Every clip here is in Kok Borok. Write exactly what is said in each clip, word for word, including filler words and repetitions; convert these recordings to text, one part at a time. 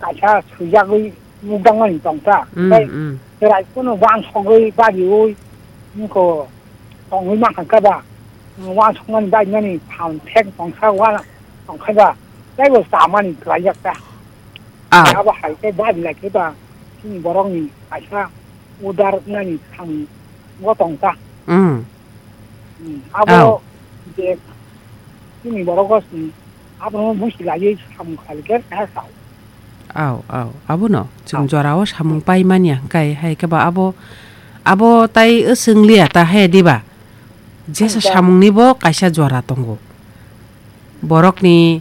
Kaisa swijagwi mukdangmani tongsa. Mm, Tei mm. Chwrai phano wansogwi bariwi wngkho tongwi mankha khe ba, wansokmani barimani phan thek tongsa wana tongkhe ba, teibo chamani kwlaijak ta. Ah. Abo hai khe bari lai khe ba, chini borokni kaisa udar wngnani samung bo tongsa. Mm. Hmm, abo Au. Je chini borok gosni abono busi laiwi samung khlai khe keha sao. Au, au. Abono chwng Au. Jorao samung pai manya hwnkhe hai khe ba abo, abo tai swng liya ta hai diba? Jesa Ang ta- samungni bo kaisa jora tongo. Borokni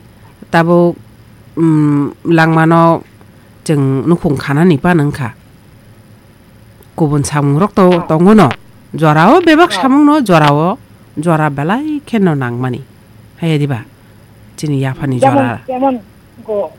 tabuk, mm, langmano chwng nukhung khanani pan wngkha. Kubun samungrok to Ah. Tongo no. Jorao bebak Ah. Samung no jorao jora belai khe no nangmani. Hai diba? Chini yaphani Jemon, jora. Jemon, go,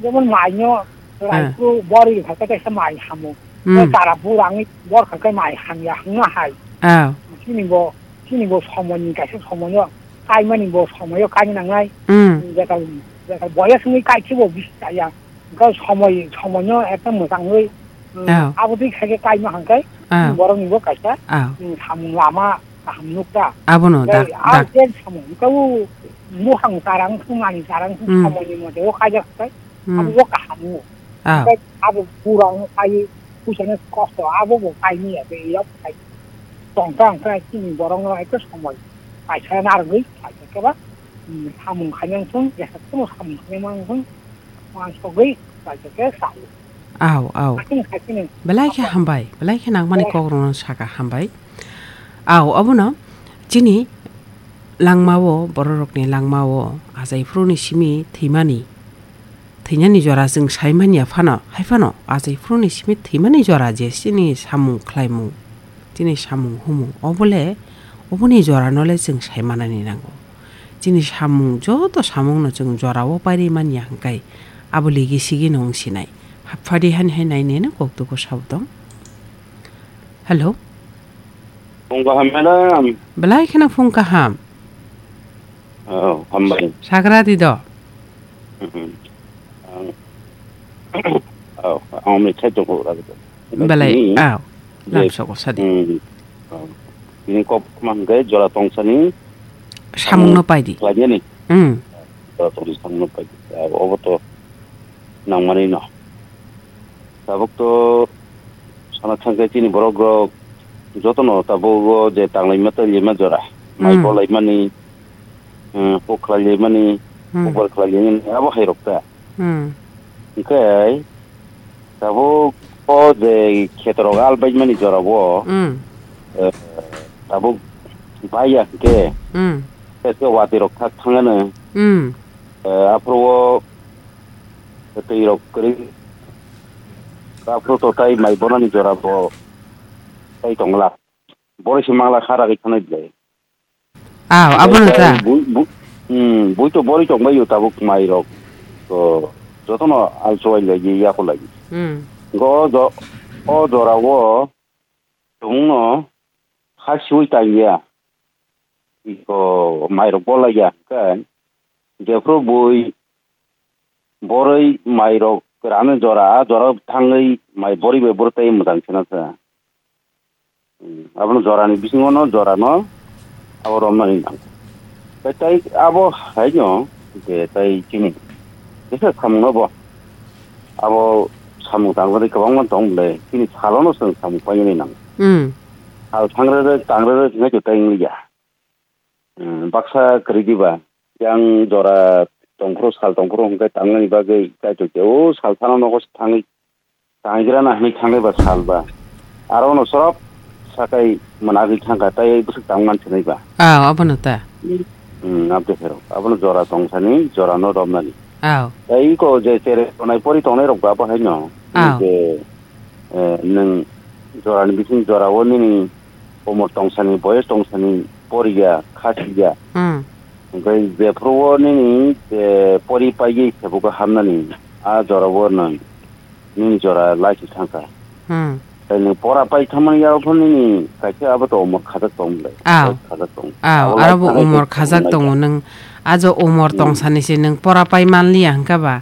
jemon mai no, Ah. Raiphuru bori kha khe kaisa mai hamo. Hmm. Tara burangni bor kha khe mai hamya hwnna hai. Ah. Chini bo, chini bo somoini kaisa somoino kaimani bo somoio kaina nangnai. Hmm. Jekal, jekal boyas wngwi kai khe bo bisi chaya. Hwnkhe somoi, somoino ekta mwchangwi, mm, Ao. Abotwi khaikhe kaima hwnkhe, Ao. Boroknibo kaisa, Ao. Mm, samung lama kaham nukta. Abono Tei dak, a dak. Je samung, hwnkhe o buphang tarang thung, mani tarang thung, Mm. Somoini mote o kaijak khe, Mm. Abo bo kaham o. Ao. Hwnkhe abo pura o kai, puisano kosto, abo bo kaimaya, tei yak kai. Tongkha hwnkhe chini borokno ekta somoi kaisa narwgwi, kaisa khe ba, mm, samung khaina wng thung, jesa kheno samung khaina wng thung, Wansugwi, kaisa khe sao. Ao, ao. Hakhini, hakhini. Belai khe hambai, belai khe nangmani Belai. Kokrokno saka hambai. Ao, abono chini langmao, bororokni langmao, achaiphuruni simi thwimani, thwinani jora chwng saimanya phano, hai phano, achaiphuruni simi thwimani jora je chini samung khlaimung, chini samung humung, obole, oboni jorano le chwng saimanani nango. Chini samung, joto samungno chwng jorao pairi manya hwnkhe, abo ligi sigino wng sinai. Haphadi hani hai naineno koktugo sabo tong. Hello. Phung kaham, madam. Belai kheno phung kaham. Oh, hambai. Sagra di do. Mhm. Ang, oh, ang mithai tongkho ragdo. Belai, Ni, ah, je, lamsoko sadi. Hmm. Oh. Bini kok ma hwnkhe jora tongsani samungno paidi. Khlainani. Hmm. Jora tongsani samungno paidi. Ah, obo to nangmani no. Tabuk to sana thangkhe chini borok rok jotono tabuk o je tanglaima tailaima jora. Mai Hmm. Bolaimani, hmm, pok khlailaimani, Hmm. Kokbar khlailaimani, abo hai rok ta. Hmm. Hwnkhe, tabuk o je khetorok al baimani jorao, Hmm. eh, tabuk baiya hwnkhe, Hmm. Tei watwi rok thak thangano, Hmm. eh, aphuru o twi rok kwrwi, aphuru to tai mai bonani jora bo tai tongla. Boroi se mangla kha ragwi thanai belai. Aw, abono ta. Bui, bui, hmm, bui to boroi tongbaio tabuk mai rok. To jotono alsowai lai ya ko lai. Hmm. Go jo, o jora o tongno kha siwi tangya. Iko mai rok bolai ya hwnkhe jephru bui boroi mai rok rano jora, a jora thangwi mai boroi bai boroi tai mwtang kheno kha. Hmm, abono jorani bisingo no jorano abo romnani nang. Tai, tai abo haino je tai chini jesa samungno bo abo samung tangjani kwbangma tong bwle chini salono chwng samung painani nang. Hmm. Sal thangrere tangrere hinai to tai wngya. Hmm, baksa kwrwi diba. Yang jora tongphuru, sal tongphuru hwnkhe tangnani bagwi kaitor khe o sal phano nogo se thangwi, tangrana hwnwi thangnai ba sal ba. Aro no sorop sakai mwnagwi thangkha, tai bwswk tang man sinai ba. Aw, abono ta. Hmm, abde phero. Abono jora tongsani, jora no romnani. Aw. Tai iko je tere tonai pori tongnai rok ba, bo haino. Aw. Je, eh, nwng jorani bising jora o nini umor tongsani, boyes tongsani, poriya, khasiya. Hmm. Hwnkhe jephru o nini, eh, pori paigwi sebugo hamnani, a jora o nwng nini jora laisi thangkha. Hmm. Tai nwng pora pai thamani yago phano nini kaisa abo to umor khajak tong bwlai. Aw. Khajak tong. Aw, abo aro bo lai umor khajak tongo, nwng ajo umor Hmm. tongsani se nwng pora pai manliya hwnkha ba?